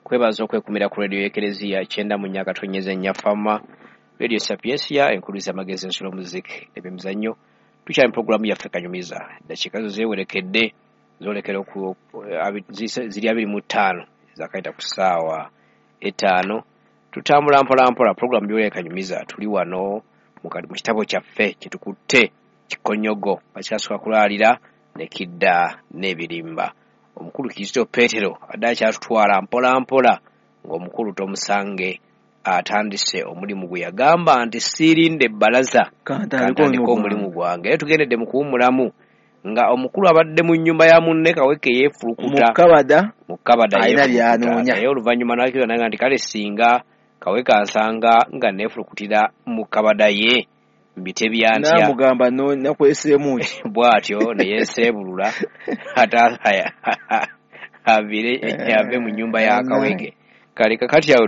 Kwebaza okwekumira ku radio y'Ekereziya 94.4 Fama Radio Sapiensia, enkuluza amagezi, ensulo, muziki n'ebyemizannyo. Tukyali mu puroguramu yaffe Kanyumiza. Eddakiika zo zeewerekedde zoolekera ziri 25 ezakayita ku ssaawa 5. Tutambula mpola mpola, puroguramu byoleka Kanyumiza. Tuli wano mu kitabo kyaffe kyetukutte Kikonyogo, bakyasooka kulaalira ne kidda n'ebirimba. Omukulu Kizito Peetero adde akyatutwala mpola mpola ng'omukulu Tomusange atandise omulimu gwe yagamba nti siirinde ebbalaza kantandike omulimu gwange. Era tugendedde mu kuwummulamu nga omukulu abadde mu nnyumba ya munne Kaweke yeefulukuta mu kabada alina by'anoonya, naye oluvannyuma n'akkiriza naga nti kale singa Kaweke ansanga nga neefulukutira mu kabada ye mbitebya ntya, namugamba nakweseemu ki bw'atyo ne yeeseebulula ate ave mu nnyumba ya Kaweke. Kale kakati awo